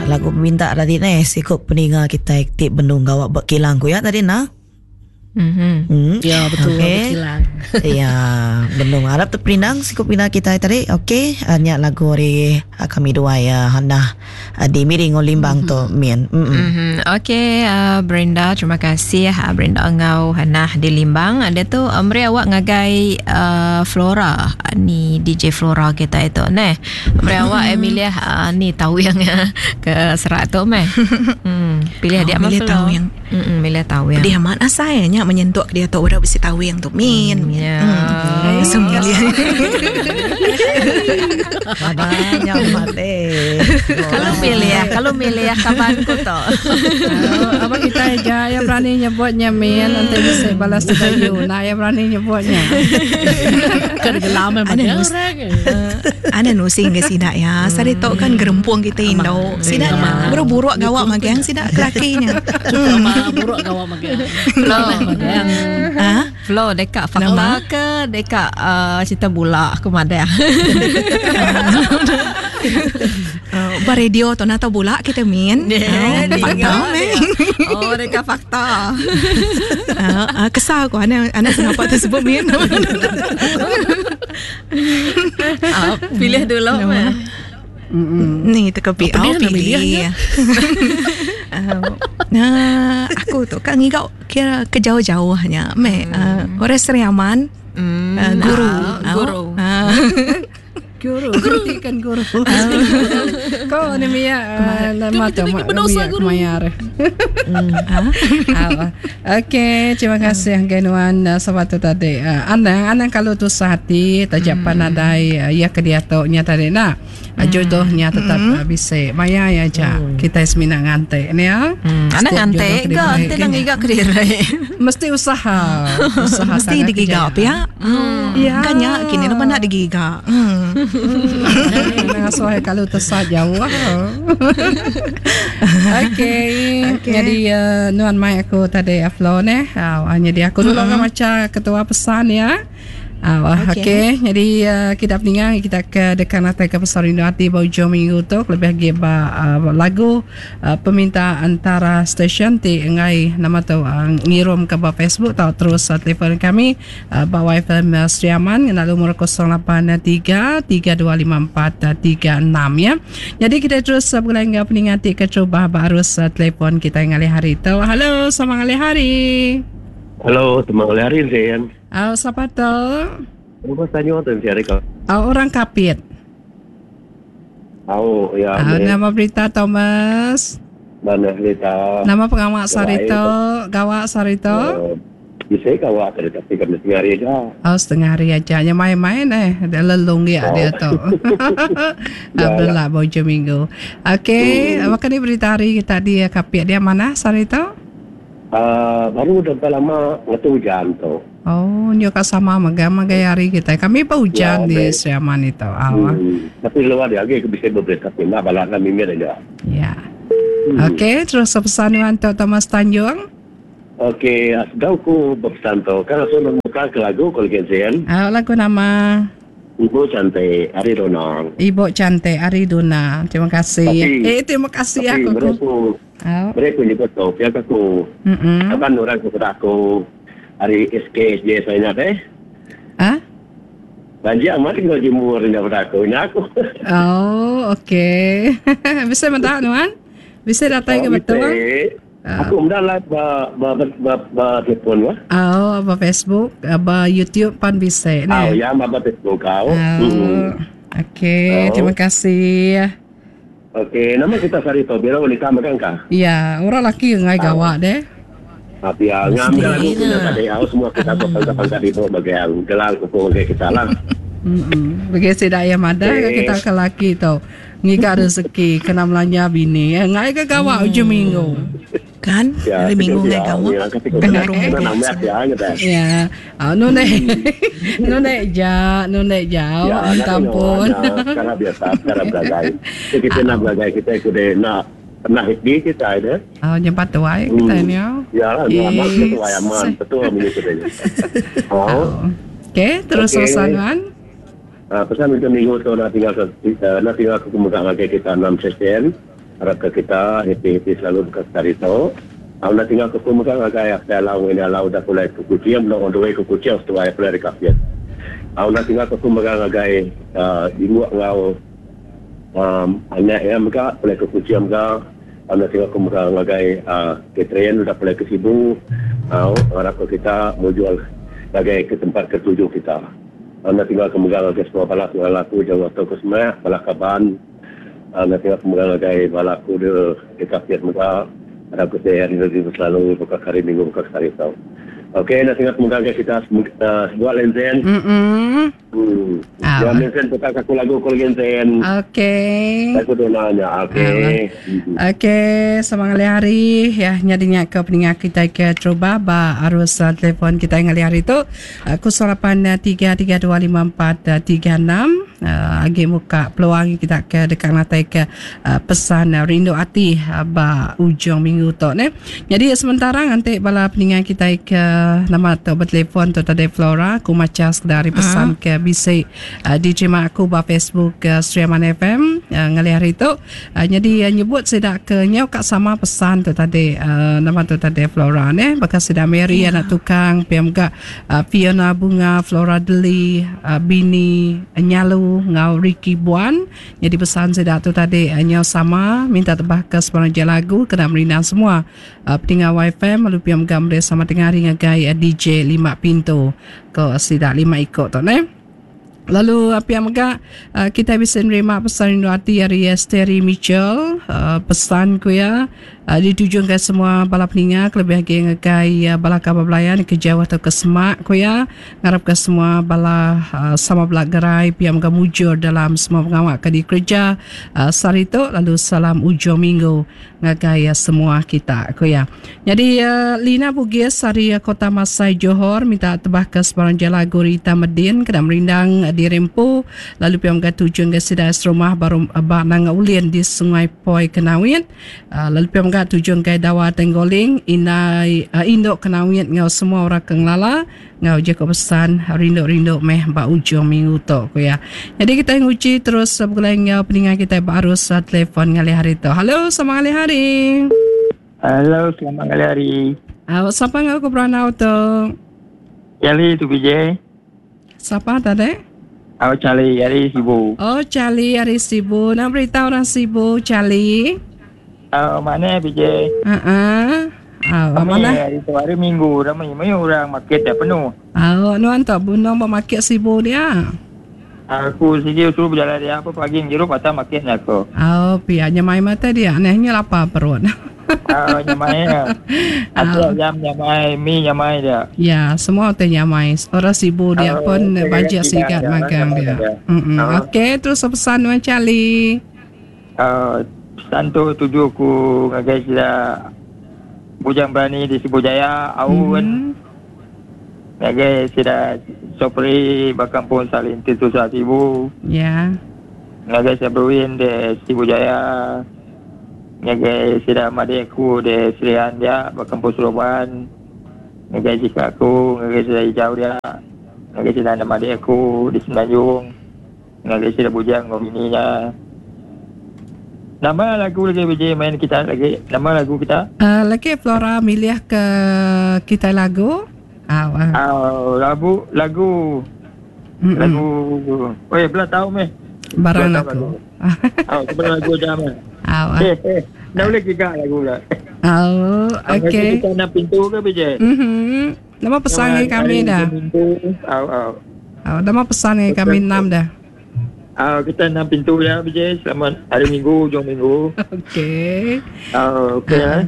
Lagu peminta tadi neh siku peninga kitai ti benung gawa ba kilang ku ya tadi nah. Mm-hmm. Ya betul okay. Kilang. ya benung arap terperindang siku peninga kitai tadi. Okey nya lagu ari kami dua ya Hannah di Miri ngau Limbang mm-hmm. tu min. Mm-hmm. Mm-hmm. Okey uh, Brenda terima kasih uh, Brenda ngau Hannah di Limbang. Dia tu uh, meri awak ngagai uh, Flora ni DJ Flora kita itu neh. Meri awak mm. Emilia uh, ni tahu yang ke serak tu meh. Hmm, pilih dia oh, milih tahu yang. Hmm, milih tahu yang. Dia amat asai nya menyentuk dia tu udah bisi tawing tu min. Hmm, ya. Hmm. So milih. Banyak mate. Kalau milih ya, kalau milih ya kaban ku tu. Apa kita aja yang berani nyebutnya min nanti bisa balas sedayu. Nah, yang berani nyebutnya. Kan gelam memang dia orang. Ana nusi ke sida ya. Sari tu kan gerempung kita indo. Sida buruk-buruk gawak magang sida kelakinya. Buruk gawak magang. Flo. Ha? Flo dekat fakta ke dekat uh, cerita bula aku madah. Uh, ba radio tu nak tahu bula kita min. Yeah, uh, fakta meh. Oh, dekat fakta. Uh, uh, kesal aku ana ana kenapa tersebut min. Uh, pilih dulu meh. Ni teka pi. Oh, pilih. Nah, aku tu kan ngigau kira ke jauh-jauhnya. Meh, uh, orang Seri Aman. Uh, guru. Uh, guru. Uh. Guru, guru kan guru. Kau ni Mia, nama tu mak Mia kemayar. Okey, terima kasih Genuan sebab tu tadi. Anang, anang kalau tu sehati tajak panadai ya ke diatu nya tadi nak. Jodohnya tetap bisi. Maya ya aja kita semina nganti ni ya. Anang nganti ke enti nang ngiga kediri. Mesti usaha. Usaha mesti digiga pia. Ya. Kan nya kini lepas nak digiga. Nang asuh kalau tesat jauh. Okey. Jadi nuan mai aku tadi upload neh. Jadi aku dulu kan macha ketua pesan ya. Okey. Okay. Jadi uh, kita peninga kita ke dekan atai ke pasal rindu ati ba ujung minggu tu lebih agi ba uh, lagu uh, peminta antara stesen ti enggai nama tu uh, ngirum ke ba Facebook tau terus uh, telefon kami uh, ba YFM uh, Sri Aman ngena lumur 083 3254 36 ya. Jadi kita terus uh, begulai enggau peninga ti keterubah ba arus uh, telefon kita ngalih hari tu. Halo, selamat ngalih hari. Halo, selamat ngalih hari Zain. Au sapa tu? Rumah Tanjung tu mesti hari kau. Au orang Kapit. Au ya. Au nama berita Thomas. Mana berita? Nama pengawa sehari tu, gawa sehari tu. Bisa gawa tadi tapi kami setengah hari aja. Oh setengah hari aja. Nya main-main eh dia lelung dia dia tu. Alhamdulillah ba ujung minggu. Okey, baka ni berita hari kita di Kapit dia manah sehari tu? Uh, baru dah berapa lama ngetu hujan tu. Oh, nyu ka sama mega magai hari kitai. Kami pa hujan ya, di Sri Aman itu. Awa. Tapi luar dia lagi ke bisa berberita tapi nak balak lah mimir aja. Ya. Okey, terus pesan nuan tu Thomas Tanjung. Okey, sedau ku berpesan tu. Kan langsung nak muka ke lagu kalau kenzen. Ah, lagu nama Ibu Cantik Ari Dona. Ibu Cantik Ari Dona. Terima kasih. Tapi, eh, terima kasih tapi aku. Mereka Oh. Mereka nyebut tu, pihak aku. Kaban orang ke aku hari SKSJ saya ingat eh. Ah? Banjir amat tinggal jemur ni daripada aku. Ini aku. Oh, okey. Bisa minta nuan? Bisa datang ke betul? Aku mudah lah ba ba ba ba, ba telefon wah. Oh, ba Facebook, ba YouTube pan bisa. Oh, ya, ba Facebook kau. Oh. Okey, terima kasih. Okey, nama kita sehari tu bila boleh kamu kan kah? Ya, orang laki ngai gawak deh. Tapi ya, ngambil lagu kita tadi, aku semua kita bangga-bangga di bawah bagian gelang kuku bagi kita lah. Bagi sida ya madah kita ke laki tu. Ngiga rezeki kena melanja bini. Eh, ngai ke gawak ujung minggu. Kan? Ya, Hari minggu ngai gawak. Kena rumah ya. Ah, nu ne. Nu ne ja, nu ne jauh. Minta ampun. Sekarang biasa, sekarang belagai. Kita nak belagai kita ikut deh nak pernah di kita ada. Oh, nyempat tuai kita ni. Ya lah, aman tuai aman, betul minggu tu. Oh. Okey, terus pesan Wan. Pesan untuk minggu tu nak tinggal nak tinggal aku muka lagi kita 6 sesen. Arap ke kita happy-happy selalu baka sekali tu. Au enda tinggal ke ku mega ngagai apai alau enggau indai alau udah pulai ke Kuching benung on the way ke Kuching seduai pulai ari Kapit. Au enda tinggal ke ku mega ngagai uhh Jinguk enggau uhh anak iya mega pulai ke Kuching mega. Au enda tinggal ku mega ngagai uhh Catherine udah pulai ke Sibu. Au ngarap ke kita mujur ngagai ke tempat ke tuju kita. Au enda tinggal ke mega ngagai semua bala pengelala aku jauh atau ke semak bala kaban. Enda tinggal ke mega ngagai bala aku de di Kapit mega arap ke sihat rindu selalu baka ke hari minggu baka ke sehari tu. Ok enda tinggal ke mega ngagai kita sebuat lenzen. Hmm. Ya lenzen putar ke aku lagu ku lagi lenzen. Ok. Lagu dona nya. Ok. Ok sama ngalih hari ya nyadi nya ke peninga kitai ke terubah ba arus telefon kitai ngalih hari tu. 08 3 3 2 5 4 3 6 agi muka peluang kita ke deka ngatai ke pesan rindu ati ba ujung minggu tu neh. Nyadi sementara nganti bala peninga kitai ke nama tu betelefon tu tadi Flora aku macha sekeda ari pesan ke bisi diterima aku ba Facebook Sri Aman FM ngalih hari tu. Nyadi nyebut sida ke nyau ka sama pesan tu tadi nama tu tadi Flora neh baka sida Mary anak tukang pia mega Fiona Bunga Flora Deli bini Nyalu enggau Ricky Buan nyadi pesan sida tu tadi nyau sama minta tebah ke sebarang ja lagu kena merindang semua peninga YFM lalu pia mega meri sama tengah hari ngagai DJ lima pintu ko sida lima iko tu neh. Lalu pia mega kitai bisi nerima pesan rindu ati ari Sterry Mitchell pesan ku iya dituju ngagai semua bala peninga kelebih agi ngagai bala kaban belayan ke jauh tauka semak ku iya ngarapka semua bala sama bela gerai pia mega mujur dalam semua pengawa ke dikereja sehari tu lalu salam ujung minggu ngagai semua kita, ku iya. Nyadi Lina Bugis ari Kota Masai Johor minta tebahka sebarang jala lagu Rita Medin kena merindang diri empu lalu pia mega tuju ngagai sida serumah ba ba Nanga Ulin di Sungai Poi Kenawit lalu pia mega tuju ngagai Dawa Tenggoling indai indu Kenawit enggau semua orang ke ngelala Enggau jaku pesan rindu-rindu meh ba ujung minggu tu, ku iya. Nyadi kitai nguji terus begulai enggau peninga kitai ba arus telefon ngalih hari tu. Halo, selamat ngalih hari. Halo, selamat ngalih hari. Au, sapa enggau ku berandau tu? Charlie tu PJ. Sapa tadi? Au, Charlie ari Sibu. Oh, Charlie ari Sibu. Nama berita orang Sibu, Charlie? Au, mana PJ? Ha-ah. Au, Kami mana? hari tu hari Minggu ramai mayuh orang market dah penuh. Au, nuan tu benung ba market Sibu dia. Aku sigi suruh berjalan dia apa pagi ngirup atau market nya aku. Au, pia nyamai mata dia neh nya lapar perut. Au, nyamai ya. Aku ayam nyamai, mi nyamai dia. Ya, semua utai nyamai. Orang Sibu dia Au, pun okay, bajet tidak sigat dia, magang nyamai dia. dia. Mm-mm. Au. Okey, terus pesan nuan Charlie. Pesan tu tuju aku ngagai sida Bujang Berani di Sibu Jaya, Aun, ngagai sida Sopri ba Kampung Salin Ti Susah Sibu, ngagai sida Berwin di Sibu Jaya, ngagai sida madik aku di Serian dia ba Kampung Seroban, ngagai jika aku, ngagai sida Ijau dia, ngagai sida anak madik aku di Semenanjung. Ngagai sida bujang enggau bini nya. Nama lagu lagi BJ main kita lagi? Nama lagu kita? Lagi Flora milih ke kitai lagu. Au. Au lagu lagu. Lagu. Oi bela tau meh. Barang lagu. Au sebab lagu jam meh. Au. Eh eh. Dah boleh giga lagu dah. Au okey. Kita nak pintu ke BJ? Mhm. Nama pesan ngagai kami dah. Au au. Au nama pesan ngagai kami enam dah. Au kita enam pintu ya BJ selamat hari Minggu hujung minggu. Okey. Au okey. Uh.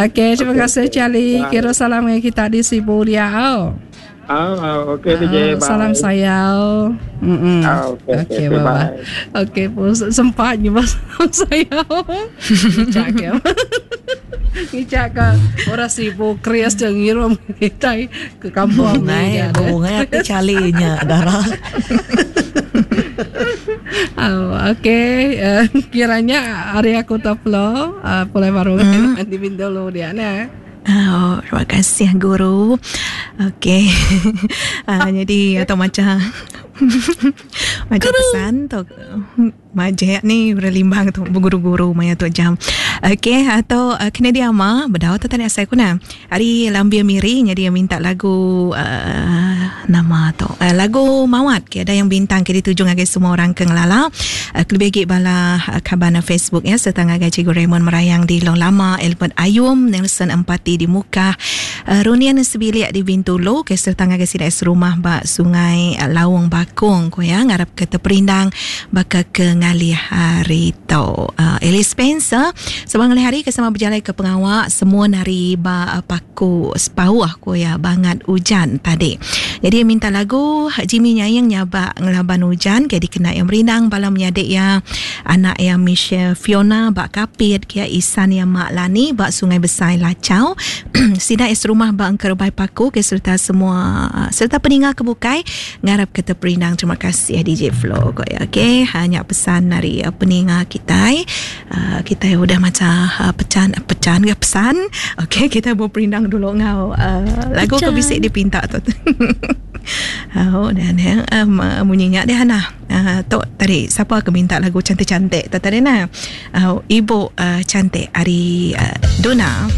Okey terima kasih Charlie. Kira salam ngagai kita di Sibu dia au. Au au okey BJ bye. Salam sayau. Mm Au okey okey bye. bye. Okey pun sempat nyebut salam sayau. Ngicak ke. Ngicak ke orang Sibu Chris je ngirum kitai ke kampung ni. Ngai bungai ati Charlie nya dara. Oh, okey. Kiranya hari aku tu flow pulai baru di Bintulu dia ne. Oh, terima kasih guru. Okey. Jadi atau macam macam pesan tu. Majek ni orang Limbang tu beguru-guru maya tu jam. Okey atau uh, kena dia ama bedau tu tadi asai ku nah. Ari Lambir Miri nyadi minta lagu uh, nama tu. Uh, lagu Mawat ke ada yang bintang ke dituju ngagai semua orang ke ngelala. Uh, kelebih agi bala uh, kaban Facebook ya serta ngagai Cikgu Raymond Merayang di Long Lama, Albert Ayum, Nelson Empati di Mukah, uh, Runian Sebilik di Bintulu ke serta ngagai sida serumah ba Sungai Laung Bakung ku ya ngarap ke teperindang baka ke ngalih hari tu. Uh, Alice Spencer sebab ngalih hari ke sama berjalai ke pengawa semua hari ba Paku Sepauh ku ya bangat ujan tadi. Jadi minta lagu Jimmy Nyaing nyabak ngelaban ujan ke dikena yang merindang bala menyadik ya anak ya Michelle Fiona ba Kapit ke Isan ya Mak Lani ba Sungai Besai Lachau sida serumah ba Engkerebai Paku ke serta semua serta peninga ke bukai Ngarap ke teperindang terima kasih DJ Flo ko ya okey hanya pesan dari uh, peninga kitai uh, kitai udah macam uh, pecan pecan ke pesan okey kita berperindang dulu ngau uh, lagu ke bisi dipinta tu Oh, dan ya, um, bunyinya dia nah. Uh, tu tadi siapa ke minta lagu cantik-cantik tu tadi nah. Uh, ibu uh, cantik ari uh, Duna.